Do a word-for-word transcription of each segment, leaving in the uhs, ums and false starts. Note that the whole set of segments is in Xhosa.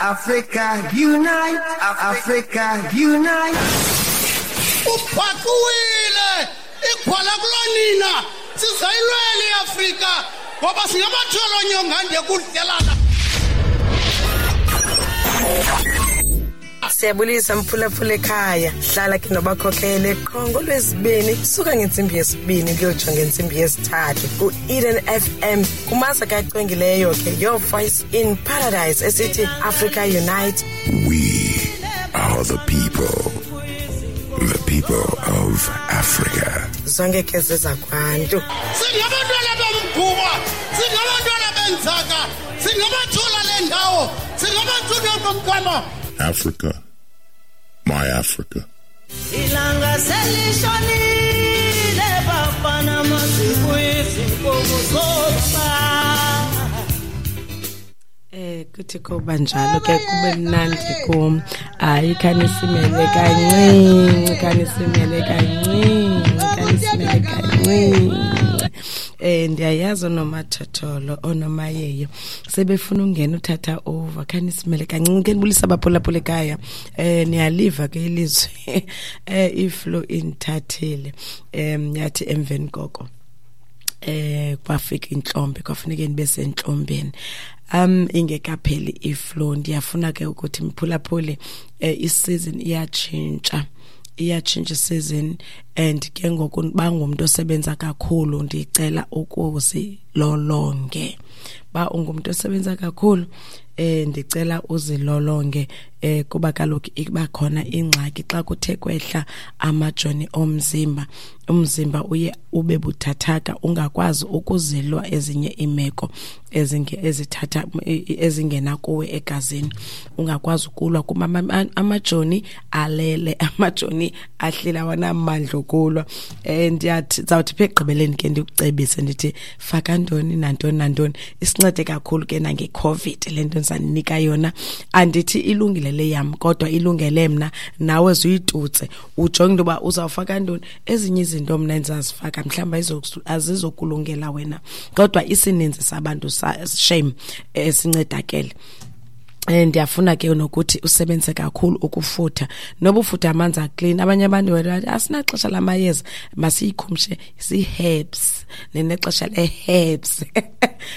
Africa unite, Africa unite. Uphakuwile igwala kulonina sizayilwela iAfrika ngoba singamatholo nyongande kudlelana. Siyabulisa mphulaphula ekhaya, hlala ke nobakhokhele qho ngolwesibini suka ngentsimbi yesibini kuyotsho ngentsimbi yesithathu ku-Eden F M kumasa kacwengileyo ke Your Voice in Paradise esithi Africa Unite. We are the people, the people of Africa. Zonke ke zezakwantu. Singabantwana bomguba, singabantwana benzaka, singabathola le ndawo, singabathunywa bomgama. Africa, my Africa. Ilanga selishonile bafana masikuyizinkomo zoba. Eh kuthi kuba njalo ke kube mnandi kum. Hayi khanisimele kancinci, khanisimele kancinci, khanisimele kancinci. Eh ndiyayazi onomathotholo onomayeyo sebefuna ungena uthatha over, khanisimele kancinci ke nibulisa abaphulaphula ekhaya. Eh niyaliva ke ilizwi eh iflow inthathile em yathi emveni koko eh kwafika inhlombe kwafuneka nibe sentlombeni um ingekapheli iflow. Ndiyafuna ke ukuthi mphulaphule eh, isizini iyatshintsha iyatshintsha season and ke ngoku bangumuntu osebenza kakhulu, ndicela ukuzilolonge. Ba ungumuntu osebenza kakhulu eh ndicela uzilolonge eh kuba kaloku iba khona ingxaki xa kuthe kwehla amajoni omzimba, umzimba uye ube buthathaka ungakwazi ukuzilwa ezinye imeko ezinge ezithatha ezingena kuwe egazini, ungakwazi ukulwa kuma amajoni alele, amajoni ahlila wanamandla okulwa. Eh ndiyathi zawuthi phe egqibeleni ke ndikucebise ndithi faka ntoni nantoni nantoni, isincede kakhulu ke nange-COVID le nto ndizanika yona. Andithi ilungile le yam kodwa ilungele mna, nawe zuyitutse ujonge into yoba uzawufaka ntoni. Ezinye izinto mna endizazifaka mhlawumbi azizokulungela wena, kodwa isininzi sabantu shame esincedakele. Ndiyafuna ke nokuthi usebenze kakhulu ukufutha, noba ufutha amanzi aclean. Abanye abantu bathi asinaxesha lamayeza, masiyikhumshe si-herbs, ninexesha le-herbs.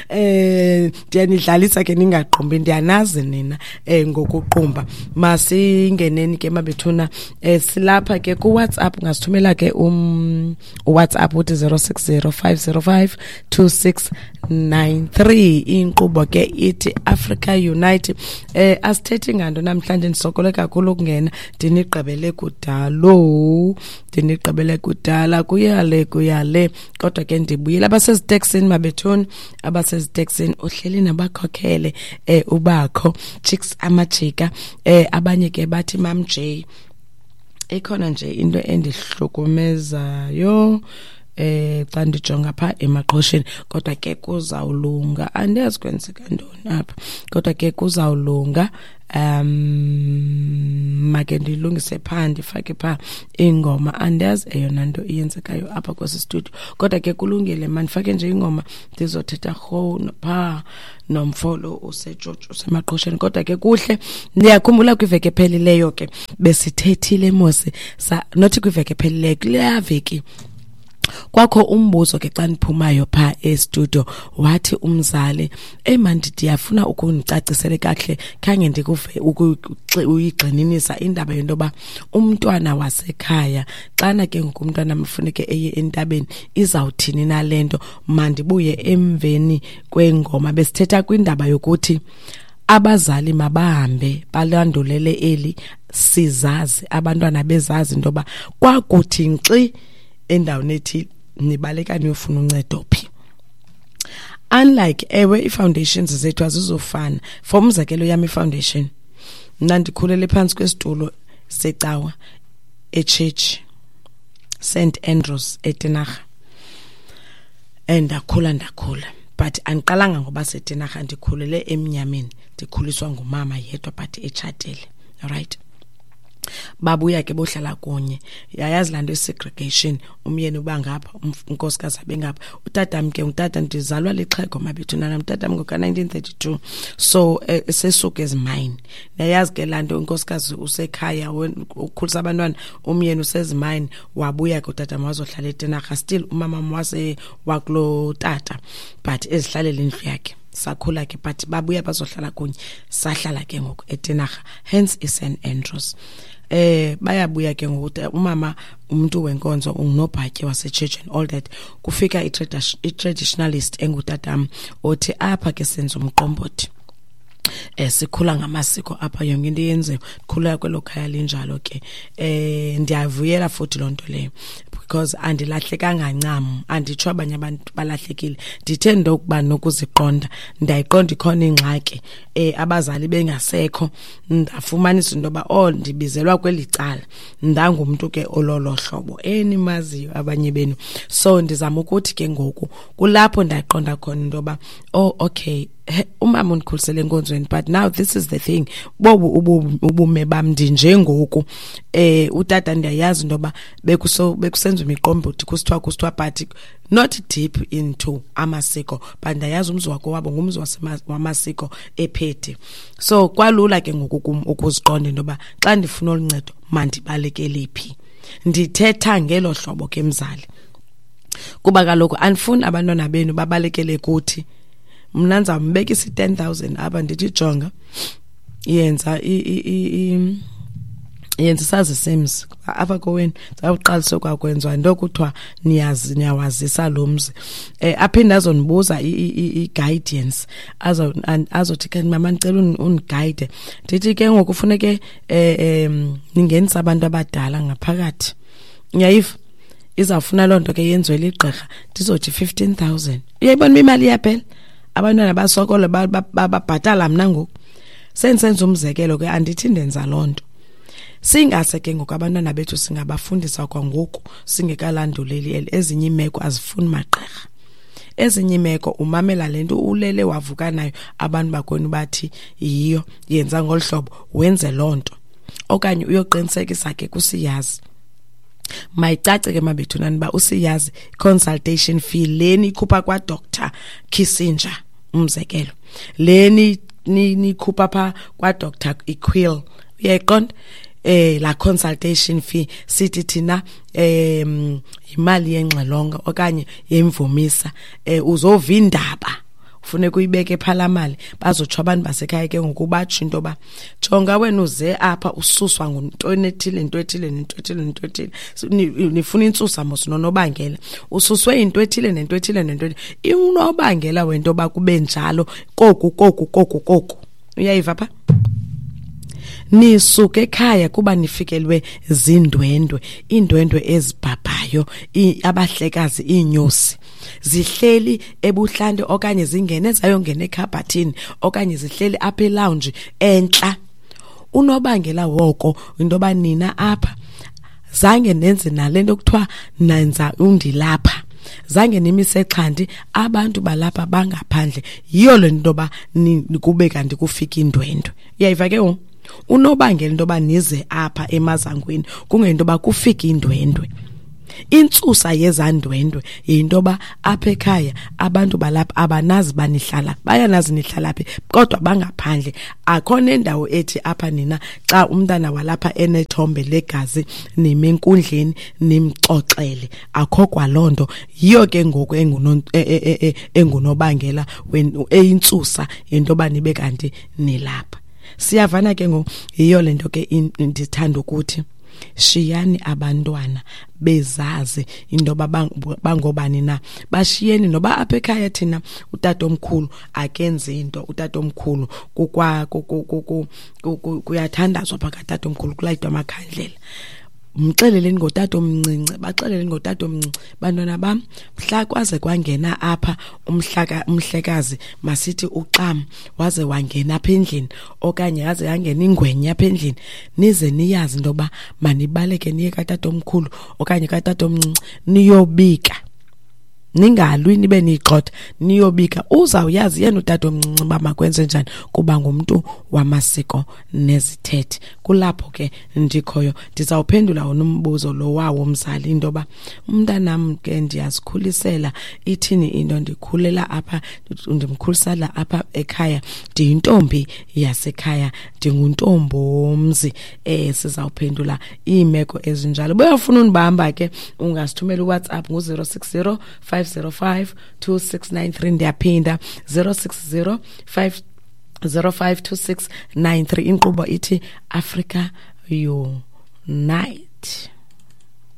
Eh ndiyanidlalisa ke ningaqumbi, ndiyanazi nina eh ngokuqumba. Masingeneni ke mabethuna, eh silapha ke ku WhatsApp, ungasithumela ke um WhatsApp uthi zero six zero five zero five two six nine three. Inkqubo ke ithi Africa Unite. Eh asithethi nganto namhlanje, ndisokole kakhulu ukungena, ndinigqibele kudalo, ndinigqibele kudala kuyale kuyale, kodwa ke ndibuyile. Abaseziteksini mabethuni, abaseziteksini uhleli nabakhokhele eh ubakho chicks amajika eh abanye ke bathi Mam J. Ikhona nje into endihlukumezayo eh xa ndijonga pha emaqhosheni, kodwa ke kuzawulunga. Andiyazi kwenzeka ntoni apha, kodwa ke kuzawulunga. Um make ndilungise pha ndifake pha ingoma, andiyazi eyona nto iyenzekayo apha kwesi studio, kodwa ke kulungile. Mandifake nje ingoma ndizothetha rho pha nomfolo usejojo usemaqhosheni, kodwa ke kuhle. Ndiyakhumbula kwiveki ephelileyo ke besithethile mose, nothi kwiveki ephelileyo, kuleya veki kwakho umbuzo ke xa ndiphumayo pha e-studio, wathi umzali, "Ey man, ndiyafuna ukundicacisele kakuhle, khange ndikuve uyigxininisa indaba yento yoba umntwana wasekhaya xana ke ngoku umntwana mfuneke eye entabeni izawuthini na le nto." Mandibuye emveni kwengoma. Besithetha kwindaba yokuthi abazali mabahambe balandulele eli sizazi, abantwana bezazi into yoba kwakuthi nkxi endaweni ethile nibaleka niyofuna uncedo phi. Unlike ewe i-foundations zethu azizofana. For umzekelo yam i-foundation, mna ndikhulele phantsi kwesitulo secawa echurch Saint Andrews eTinarha, and ndakhula ndakhula but andiqalanga ngoba seTinarha, ndikhulele emnyameni, ndikhuliswa ngumama yedwa but etshatile, alright. Babuya ke bohlala kunye. Yayazi laa nto i-segregation, umyeni uba ngapha, unkosikazi abe ngapha. Utatam ke, utata ndizalwa lixhego mabethunana, utatam ngoka-nineteen thirty-two, so eh, sesuka ezimayini. Yayazi ke laa nto, unkosikazi usekhaya ukhulisa abantwana, umyeni usezimayini. Wabuya ke utatam wazohlala eTinarha, still umamam wase wakuloo tata, but ezihlalela indlu yakhe. Sakhula ke, but babuya bazohlala kunye, sahlala ke ngoku eTinarha, hence iSaint Andrews. Eh bayabuya ke ngoku, umama umuntu wenkonzo, ungunobhatyi wase-church and all that. Kufika i-traditionalist engutatam othi apha ke senza umqombothi, eh sikhula ngamasiko apha, yonke into yenziwe, khula kwelo khaya linjalo ke. Eh ndiyavuyela futhi loo nto leyo, because andilahlekanga ncam, anditsho abanye abantu balahlekile. Ndithe into yokuba nokuziqonda, ndayiqonda ikhona ingxaki, eh abazali bengasekho, ndafumanisa into yoba oh ndibizelwa kweli cala, ndangumntu ke ololo hlobo enimaziyo abanye benu. So ndizama ukuthi ke ngoku kulapho ndayiqonda khona into yoba oh okay, umama undikhulisele enkonzweni, but now this is the thing, bobu ubume bam ndinjengoku. Eh utata ndiyayazi into yoba bekuso bekusenziwa imiqombothi, kusithiwa kusithiwa but not deep into amasiko, but ndiyayazi umzi wakho wabo ngumzi wamasiko ephethe. So kwalula ke ngoku kum ukuziqonda into yoba xa ndifuna olu ncedo mandibalekele phi. Ndithetha ngelo hlobo ke mzali, kuba kaloku andifuni abantwana benu babalekele kuthi. Mna ndizambekisa i-ten thousand apha, ndithi jonga, yenza yenza isazi semzi apha kowenu, zawuqalisa kwakwenziwa into kuthiwa niyazi niyawazisa lo mzi. Eh aphinde azonibuza i-guidance, azothi ke mama ndicela undiguide. Ndithi ke ngoku funeke eh ningenise abantu abadala ngaphakathi, uyayiva, izawufuna loo nto ke yenziwe ligqirha, ndizothi fifteen thousand. Uyayibona uba imali iyaphela, abantwana basokole babhatala mna ngoku. Sendisenza umzekelo ke, andithi ndenza loo nto. Singase ke ngoku abantwana bethu singabafundisa kwangoku, singekalanduleli eli. Ezinye iimeko azifuni magqirha, ezinye iimeko umamela le nto ulele wavuka nayo, abantu bakwenu bathi yiyo, yenza ngolu hlobo, wenze loo nto, okanye uyoqinisekisa ke kusiyazi. Mayicace ke mabethunani uba usiyazi consultation fee leni ikhupha kwaDoctor Kissinger, umzekelo, leni nikhupha pha kwaDoctor Equill, uyayiqonda eh la consultation fee sithi thina eh imali yengxelonga okanye yemvumisa, eh uzova indaba ufuneka uyibeke phala mali. Bazotsho abantu basekhaya ke ngoku batsho into yoba jonga wena uze apha ususwa nguntoni ethile, into ethile, nento ethile, nento ethile, nifuna intsusa mos nonobangela, ususwe into ethile nento ethile nento ethile, unobangela wento yoba kube njalo koku koku koku koku. Uyayiva pha? Nisuke ekhaya kuba nifikelwe zindwendwe, iindwendwe ezibhabhayo, abahlekazi, iinyosi zihleli ebuhlanti okanye zingene zayongena ekhabhathini okanye zihleli apha elounge entla. Unobangela woko into yoba nina apha zange nenze nale nto kuthiwa nenza undilapha, zange nimise xhanti, abantu balapha bangaphandle. Yiyo le nto yoba kube kanti kufika indwendwe. Uyayiva ke ngoku? Unobangela into yoba nize apha emazangweni kungento yoba kufika indwendwe. Intsusa yezandwendwe yinto yoba apha ekhaya abantu balapha abanazi banihlala, bayanazi nihlala phi, kodwa bangaphandle. Akho nendawo ethi apha nina xa umntana walapha enethombe legazi nime enkundleni nimxoxele, akho kwaloo nto. Yiyo ke ngoku engunobangela eyintsusa yinto yoba nibe kanti nilapha. Siyavana ke ngoku. Yiyo le nto ke ndithanda ukuthi shiyani abantwana bezazi into yoba bangobani na, bashiyeni noba apha ekhaya thina utatomkhulu akenzi into, utatomkhulu kukwa kuyathandazwa pha katatomkhulu, kulayitwa amakhandlela. Mxeleleni ngotatomncinci, baxeleleni ngotatomncinci, bantwana bam, mhla kwaze kwangena apha umhlaka umhlekazi, masithi uxam waze wangena apha endlini okanye yaze yangena ingwenya apha endlini, nize niyazi into yoba manibaleke niye katatomkhulu okanye katatomncinci niyobika. Ningalwi nibe niyigxotha, niyobika. Uzawuyazi yena utata omncinci uba makwenze njani kuba ngumntu wamasiko nezithethe. Kulapho ke ndikhoyo, ndizawuphendula wona umbuzo lo wawo mzali, into yoba umntanam ke ndiyazikhulisela, ithini into, ndikhulela apha, ndimkhulisela apha ekhaya, ndiyintombi yasekhaya, ndinguntombi womzi. Eh sizawuphendula iimeko ezinjalo. Buyafuna undibamba ke, ungasithumela uWhatsApp ngu-zero six zero five zero five two six nine three. Ndiyaphinda, zero six zero five zero five two six nine three. Inkqubo ithi Africa Unite.